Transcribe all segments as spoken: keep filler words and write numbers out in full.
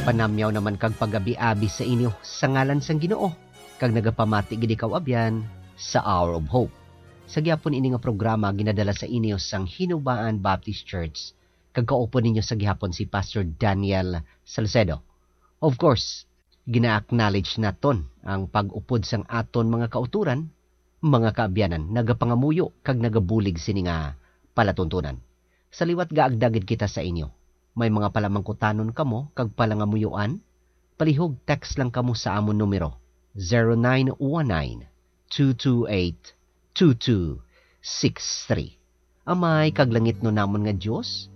Panamyaw naman kag pag-abi-abi sa inyo sa ngalan sang Ginoo, kag nagapamati gid ikaw, abyan, sa Hour of Hope. Sa gihapon ini nga programa ginadala sa inyo sang Hinubaan Baptist Church, kag kaupod ninyo sa gihapon si Pastor Daniel Salcedo. Of course, gina-acknowledge naton ang pag-upod sang aton mga kautoran, mga kaabyanan, nagapangamuyo kag nagabulig sini nga palatuntunan. Sa liwat gaagda gid kita sa inyo. May mga palamangkutanon kamo kag palangamuyoan, palihog text lang kamo sa amon numero, zero nine one nine, two two eight, two two six three. Amay kag langitnon namon nga Dios,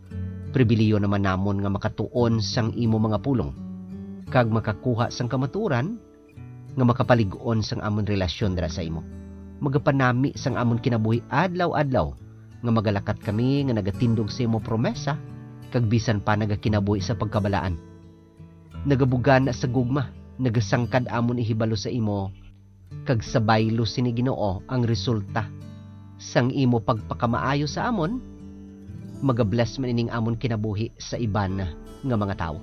pribilihiyo naman namon nga makatuon sang imo mga pulong, kag makakuha sang kamatuoran nga makapalig-on sang amon relasyon dira sa imo. Magapanami sang amon kinabuhi adlaw-adlaw, nga magalakat kami nga nagatindog sa imo promesa, kag bisan pa nagakinabuhi sa pagkabalaan. Nagabugana sa gugma, nagasangkad amon ihibalo sa imo, kag sa baylo sini, Ginoo, ang resulta sang imo pagpakamaayo sa amon, magabless man ining amon kinabuhi sa iban nga mga tawo.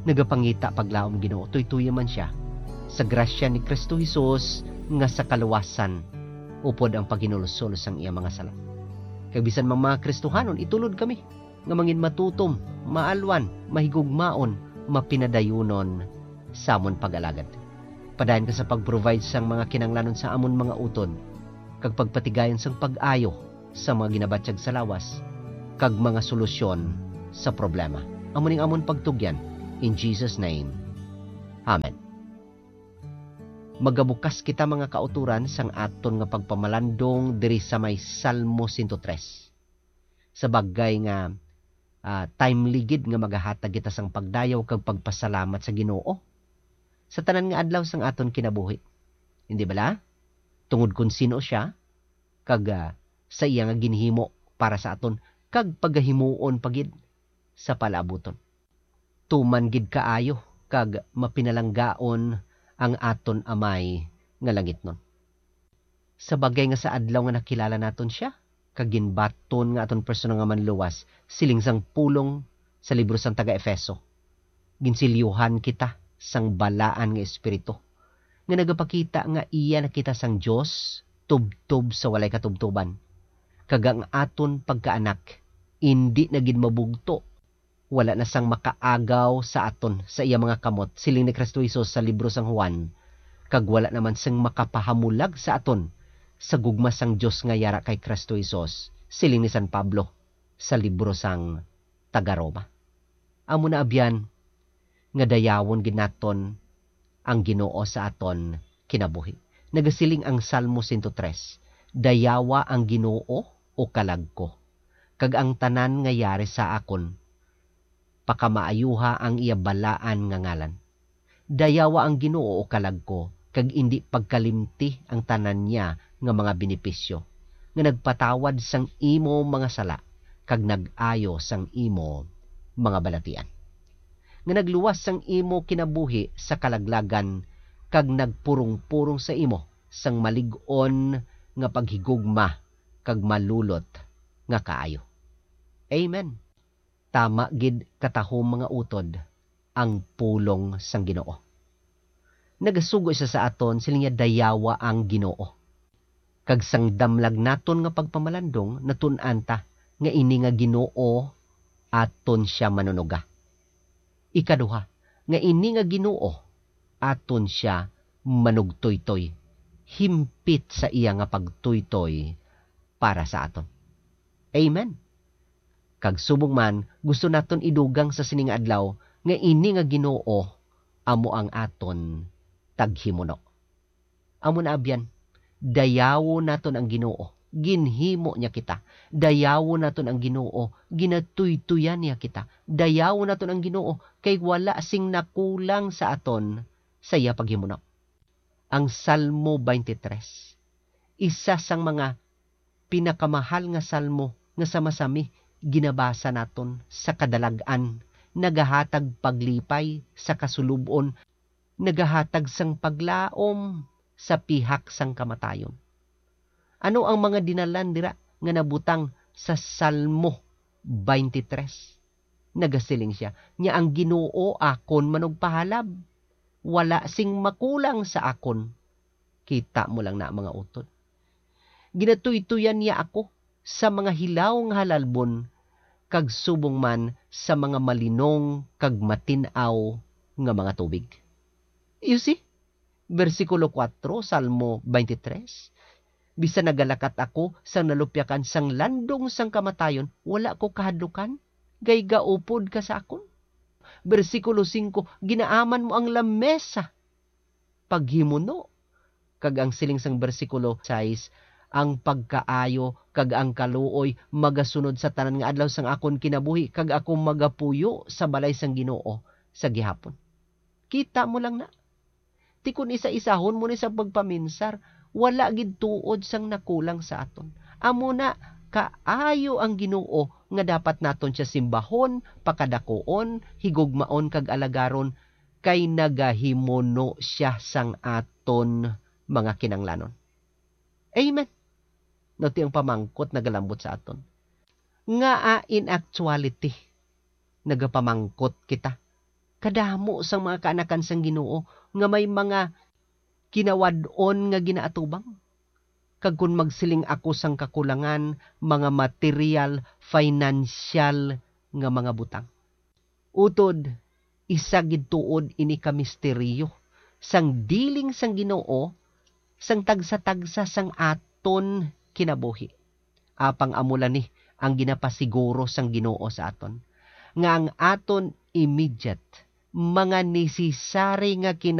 Nagapangita paglaom, Ginoo, tuytoya man sia sa grasya ni Cristo Jesus nga sa kaluwasan upod ang paghinulsol sang iya mga sala. Kag bisan mang mga Kristohanon, itulod kami nga mangin matutom, maalwan, mahigugmaon, mapinadayunon sa amon pag-alagad. Padayon ka sa pag-provide sang mga kinahanglanon sa amon mga utod, kag pagpatigayon sang pag-ayo sa mga ginabatyag sa lawas, kag mga solusyon sa problema. Amo ning amon pagtugyan, in Jesus' name. Amen. Magabukas kita, mga kautoran, sang aton nga pagpamalandong diri sa may Salmo sento tres. Sa bagay nga, ah, timely gid nga magahatag kita sang pagdayaw kag pagpasalamat sa Ginoo sa tanan nga adlaw sang aton kinabuhi. Hindi bala? Tungod kon sin-o sia, kag, ah, sa iya nga ginhimo para sa aton, kag pagahimuon pa gid sa palaabuton. Tuman gid kaayo kag mapinalanggaon ang aton Amay nga langitnon. Sa bagay nga sa adlaw nga nakilala naton sia, kag ginbaton nga aton personal nga Manluwas, siling sang pulong sa libro sang taga-Efeso, ginsilyuhan kita sang balaan nga Espiritu, nga nagapakita nga iya na kita sang Dios, tubtob sa walay katubtoban, kag ang aton pagkaanak indi na gid mabugto, wala na sang makaagaw sa aton sa iya mga kamot, siling ni Cristo Jesus sa libro sang Juan, kag wala naman sing makapahamulag sa aton sa gugma sang Dios nga yara kay Cristo Jesus, siling ni San Pablo sa libro sang taga-Roma. Amo na, abyan, nga dayawon gid naton ang Ginoo sa aton kinabuhi. Nagasiling ang Salmo sento tres, "Dayawa ang Ginoo, o kalag ko, kag ang tanan nga yari sa akon, pakamaayuha ang iya balaan nga ngalan." Dayawa ang Ginoo, o kalag ko, kag indi pagkalimti ang tanan niya nga mga benepisyo, nga nagpatawad sang imo mga sala, kag nag-ayo sang imo mga balatian, nga nagluwas sang imo kinabuhi sa kalaglagan, kag nagpurong-purong sa imo sang malig-on nga paghigugma kag malulot nga kaayo. Amen. Tama gid katahom, mga utod, ang pulong sang Ginoo. Nagasugo sia sa aton, siling niya, "Dayawa ang Ginoo." Kag sang damlag naton nga pagpamalandong, natun-an ta nga ini nga Ginoo aton sia manunuga. Ikaduha, nga ini nga Ginoo aton sia manugtoytoy, himpit sa iya nga pagtuytoy para sa aton. Amen. Kag subong man, gusto naton idugang sa sini nga adlaw nga ini nga Ginoo amo ang aton taghimuno. Amo na, abyan, dayawon naton ang Ginoo. Ginhimo niya kita. Dayawon naton ang Ginoo. Ginatuytoyan niya kita. Dayawon naton ang Ginoo, kay wala sing nakulang sa aton sa iya paghimuno. Ang Salmo twenty-three, isa sang mga pinakamahal nga salmo nga sa masami ginabasa naton sa kadalag-an, nagahatag paglipay sa kasulub-on, nagahatag sang paglaom sa pihak sang kamatayon. Ano ang mga dinalan dira nga nabutang sa Salmo twenty-three? Nagasiling sia, "Nya ang Ginoo akon manugpahalab, wala sing makulang sa akon." Kita mo lang na, mga utod. Ginatuytoyan niya ako sa mga hilaw nga halalbon, kag subong man sa mga malinong kag matin-aw nga mga tubig. You see? Bersikulo kuwatro, Salmo twenty-three, "Bisan nagalakat ako sang nalupyakan sang landong sang kamatayon, wala ko kahadlukan, kay gaupod ka sa akon." Bersikulo singko, "Ginaaman mo ang lamesa paghimuno." Kag ang siling sang bersikulo sais, "Ang pagkaayo kag ang kaluoy magasunod sa tanan nga adlaw sang akon kinabuhi, kag ako magapuyo sa balay sang Ginoo sa gihapon." Kita mo lang na. Ti kon isa-isahon mo ni sa pagpaminsar, wala gid tuod sang nakulang sa aton. Amo na, kaayo ang Ginoo nga dapat naton sia simbahon, pakadakuon, higugmaon kag alagaron, kay nagahimuno sia sang aton mga kinanglanon. Amen. No, ti ang pamangkot nagalambot sa aton. Ngaa in actuality nagapamangkot kita? Kadamo sang mga kaanakan sang Ginoo nga may mga kinawad-on nga ginaatubang. Kag kon magsiling ako sang kakulangan, mga material, financial nga mga butang. Utod, isa gid tuod ini ka misteryo sang dealing sang Ginoo sang tagsa-tagsa sang aton kinabuhi. Apang amo lang ni ang ginapasiguro sang Ginoo sa aton, nga ang aton immediate, mga necessary nga